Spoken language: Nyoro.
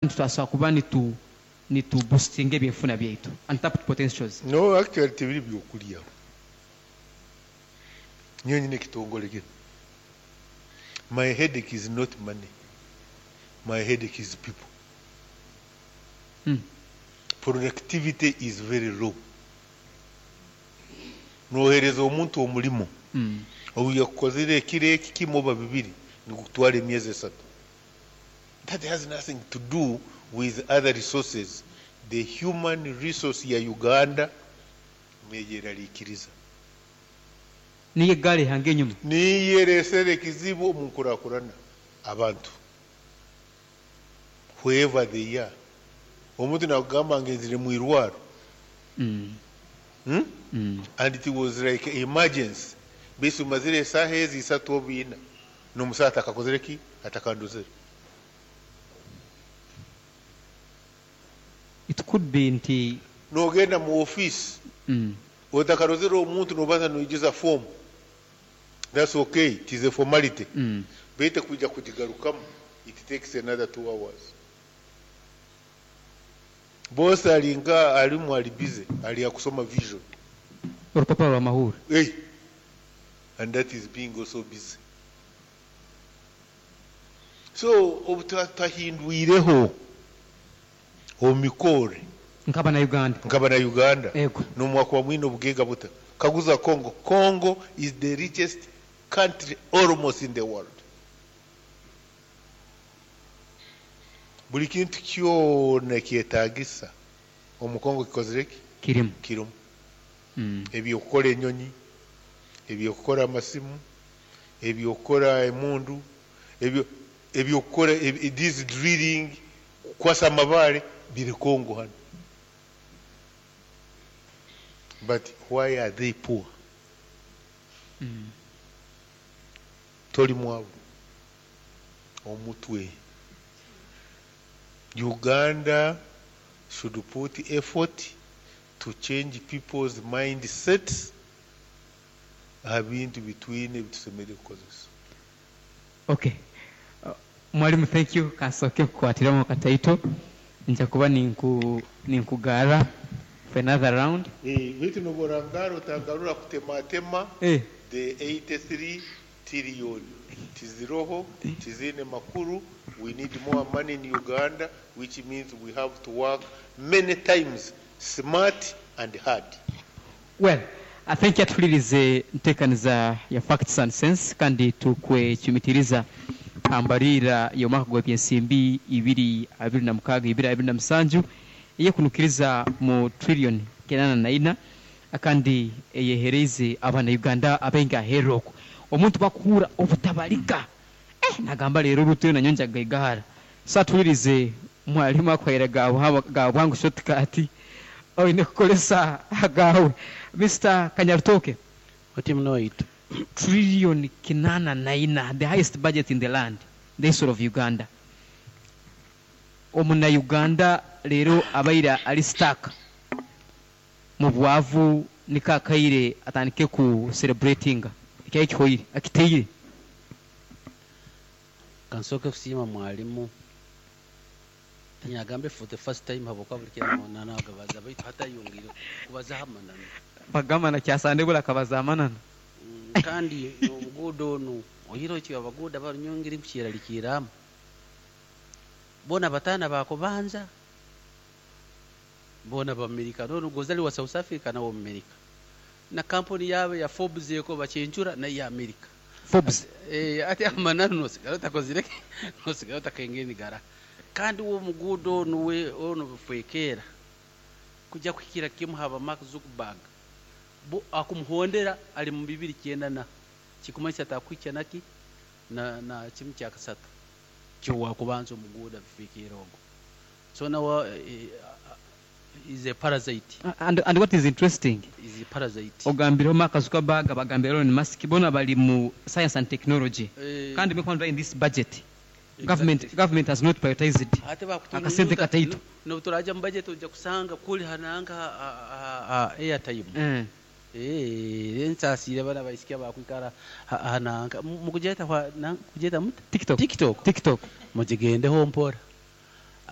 Nitubaasa kuba nitu boostinga ebyenfuna byaitu, untapped potentials. No, actually tibiri byokulya. Nyowe nyine ekitongole kinu. My headache is not money. My headache is people. Productivity is very low. Nohereza omuntu omulimo, obu yakukozire ekiro eki kimu oba bibiri, nigukutwara emyezi 3. That has nothing to do with other resources. The human resource ya Uganda neyeraliikiriza. Niyo egaari ehanga enyuma. Niyo eresere ekizibu omu nkurakurana abantu. Whoever they are. Omuntu nakugamba ngenzire mu irwaro. And it was like emergency. Baitu mazire esaaha ezi 3 oba 4 n'omusaha atakakozere ki? Atakandozere. It could be nti nogenda mu office otakarozere omuntu nobanza noijuza form. That's okay, it is a formality. Baitu kwija kugigarukamu it takes another 2 hours. Boss alinga alimu ali busy, ali akusoma vision. Orupapuro rwa mahuri. Hey. And that is being also busy. So obutahindwireho omikore nkaba na Uganda. Nkaba na Uganda. Ego. Nomwaka wa mwino bugega buta. Kaguza Congo. Congo is the richest country almost in the world. Buli kintu kyona kyetagisa omu Congo kikozire ki? Kirimu. Kirimu. Ebyokukora enyonyi, ebyokukora amasimu, ebyokukora emundu, ebyokukora this drilling, kukwasa amabare biri Congo hano. But why are they poor? Toli mwavu. Omutwe. Uganda should put effort to change people's mindsets aha bintu bitwine bitusemere kukozesa. Okay. Mwalimu, thank you. Kasoke kukwatiramu kataito. Nja kuba ninkugara for another round. Bitu noborangara otagarura kutematema. The 83 trillion tiziroho tizine makuru. We need more money in Uganda, which means we have to work many times smart and hard. Well, I think yatulirize ntekaniza ya Facts and Sense kandi tukwechumitiriza ambarira y'omwaka gwa byensimbi ibiri abiri na mukaga ibiri abiri na musanju eyekunukiriza mu trillion 84 kandi eyehereze abana Uganda abenga heroko omuntu bakura obutabalika nagamba rero rutuyo na nyonja gaigara satulirize mwalimu akwera gabwangu shortcut oine kukolesa agawe. Mr. Kanyarutoke, Oti mnoitu. Trillion 84, the highest budget in the land, the history of Uganda. Omuna Uganda lero abaira ali stuck mu bwavu nikakaire atandike ku celebrating ekyayi kihoire akiteire. Kansoke kusiima mwalimu tinyagambe for the first time haboka buli kira nagabaza baitu hatayongire kubaza amananu bagamba na kyasande bula kabaza amananu. Kandi obuguudo onu oyiro ki abaguuda barunyongere kukyeralikiramu bona batana bakubanza bona b'Amerika nono gozali wa South Africa na Amerika na kampuni yabe ya Forbes yeko bachenchura na ya Amerika Forbes ate amananu nosigala takozire nosigala takengeni gara kandi uwo mugudo nuwe ono bufwekera kujya kwikira kimu haba Mark Zuckerberg bo akumuhondera ali mu 2009 na kikumanyisa takwicha naki na kimu kya kasatu kyo wakubanza omuguda bufwekera ogo so now is a parasite. And what is interesting is a parasite. Ogambiro Mark Zuckerberg abagambiro Elon Musk bona bali mu science and technology. Kandi mekwanza in this budget. Exactly. Government has not prioritized it. Akasente kataito. No turaja mu budget ojja kusanga kuli hananga airtime. Ensasire bana baisikia bakwikara hananga mukujeta kwa kujeta muta TikTok. Mujigende ho mpora.